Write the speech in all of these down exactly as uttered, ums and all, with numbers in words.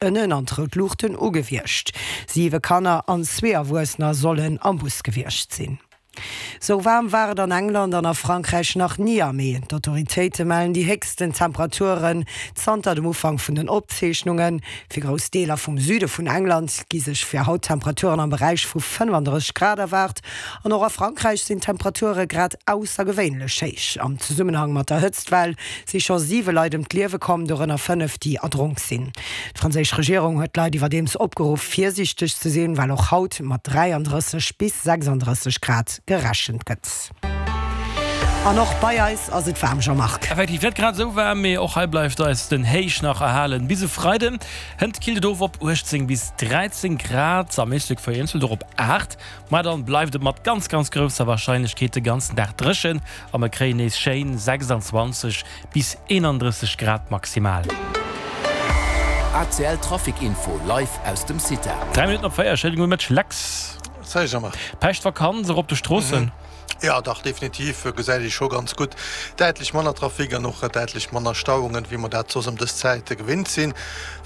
ënnen an d'rout Luuchten ugewiescht. Siwe Kanner an zwee Erwuessener sollen am Bus gewiescht sinn. Sou waarm war et an England an a Frankräich nach ni am Mee. D'Autoritéite mellen déi héchsten Temperaturen zanter dem Ufank vun den Opzeechnungen. Fir grouss Deeler vum Süde vun England gi sech fir haut Temperaturen am Beräich vu fënnefandrësseg Grad erwaart. An och a Frankräich sinn d'Temperature grad aussergewéinlech héich. Am Zesummenhang mat der Hëtztwell si scho siwe Leit ëm d'Liewe komm, dorënner fënnef, déi erdronk sinn. D'franséisch Regierung huet d'Leit iwwerdeems opgeruff, virsiichteg ze sinn, well och haut mat dräiandrësseg bis sechsandrësseg Grad gerechent gëtt. An och bei eis ass et waarm, Jean-Marc. Effektiv net grad esou waarm, mee och hei bleift eis den Héich nach erhalen. Bis e Freiden hënt killt et of op uechtzéng bis dräizéng Grad, am Éislek vereenzelt och op aacht. Ma dann bleift et mat ganz ganz grousser Warscheinlechkeet de ganzen Dag dréchen a mer kréien nees schéin sechsandzwanzeg bis eenandrësseg Grad maximal. A C L Trafic Info live aus dem Cita. Dräi Minutten op véier, schéine gudde Mëtteg Lex. Salut Jean-Marc. Päischtvakanz och op de Stroossen? Jo dach, definitiv gesäit ee scho ganz gutt däitlech manner Trafic an och däitlech manner Stauungen, wéi mer dat soss ëm dës Zäit gewinnt sinn.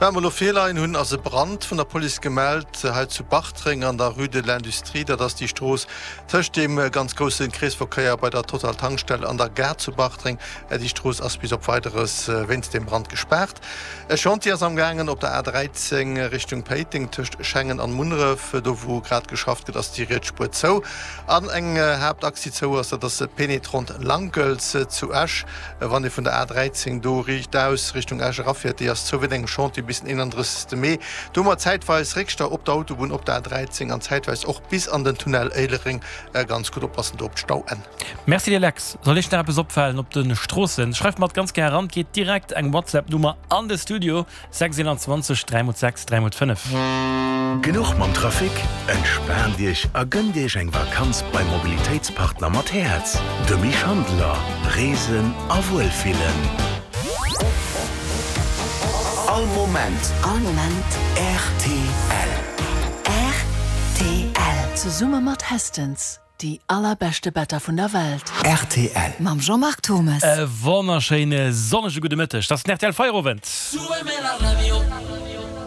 Wat mer elo virleien hunn, ass e Brand vun der Police gemellt hei zu Bartreng an der Rue de l'Industrie. Dat ass déi Strooss tëscht deem ganz grousse Kreesverkéier bei der Total-Tankstell an der Gare zu Bartreng. Déi Strooss ass bis op Weideres wéinst deem Brand gespaart. E Chantier ass am gaangen op der A dräizéng Richtung Péiteng tëscht Schengen an Munneref. Do wou grad geschafft gëtt, ass déi riets Spuer zou. An eng Haaptachs déi zou ass, dat ass d'Pénétrante Lankels zu Esch. Wann ee vun der A dräizéng do riichtaus Richtung Esch erafiert, déi ass zou wéint engem Chantier bis den eenandrëssegste Mee. Do hu mer zäitweis Réckstau op der Autobunn op der A dräizéng an zäitweis och bis an den Tunnel Éilereng. Ganz gutt oppassen do op d'Stauenn. Merci dir Lex. Soll iech nach eppes opfalen op de Stroossen, schreift mer et ganz gär eran. Geet direkt eng WhatsApp Nummer an de Studio, sechs eenanzwanzeg dräi mol sechs dräi mol fënnef. Genuch mam Trafic? Entspaant Iech a gënnt Iech eng Vakanz beim Mobilitéitspartner mat Häerz, dem Misch Handeler. Reesen a Wuelfillen. All Moment. All Moment. Rtl. Rtl. Zesumme mat Hästens. Déi allerbeschte Better vun der Welt. Rtl. Mam Jean-Marc Thommes. E wonnerschéine sonnege gudde Mëtteg. Dat ass den R T L Feierowend.